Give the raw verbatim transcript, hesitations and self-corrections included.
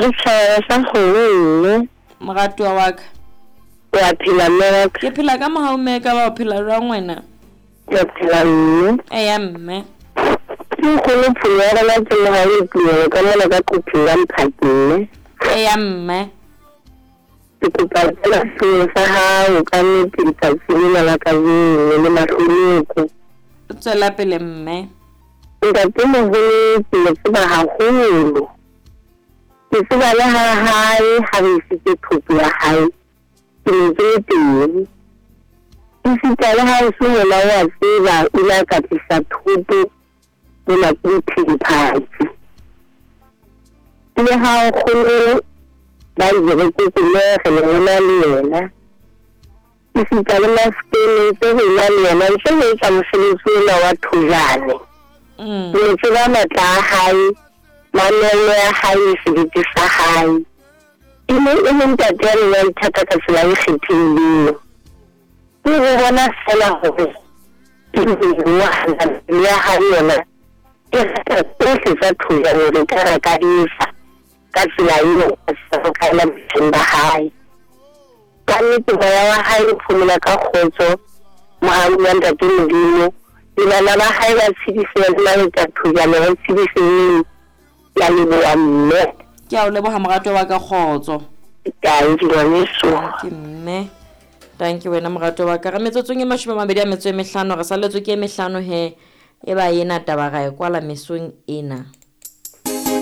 Re tjhaba sa kgomo mme. Moratuwa wa ka. Wa phela mme wa ka. Ke phela ka mohau mme ka ba o phela jwang wena? Ke a phela mme. Eya mme. Ke nkgono Pholo ya rona ke mohau le tumelo ka mona ka qopheng la Mphaki mme. Eya mme. Ke kopa feela setulo sa hao ka nnete letsatsi lena la kajeno le mahlonoko. Tswela pele mme. Ntatemoholo ke mo tseba haholo. Ke tseba le ha hae ha re isitse thoto ya hae ke ne ke le teng. Esita le ha o se mona o a tseba o ile a ka tlisa thoto mona ke dithethefatsi. Le ha nkgono ba ireketse le re ne re na le yena. Esita le Mafikeng ntse re na le yena ntse re etsa mosebetsi ona wa thojane. Mm. Ke ne tseba matla a hae, mamello ya hae le sebete sa hae. E ne e le ntate ya neng a ithata ka tsela e kgethehileng. Ke ho bona feela hore ke ngwana ya hae yona e rata tsohle tsa thojane re ka ra ka di etsa ka tsela eo a sa ka ela botjheng ba hae. Ka nnete moya wa hae o phomola ka kgotso, mohau wa ntate Modimo, le bana ba hae ba tshedise le maleka thojane ba tshediseng. Ke a leboha mme. Ke a o leboha moratuwa wa ka kgotso. Thank you ngwaneso. Ke mme. Thank you wena moratuwa wa ka. Re metsotsong e mashome a mabedi a metso e mehlano re salletswe ke e mehlano he e ba ena taba ra e kwala mesong ena.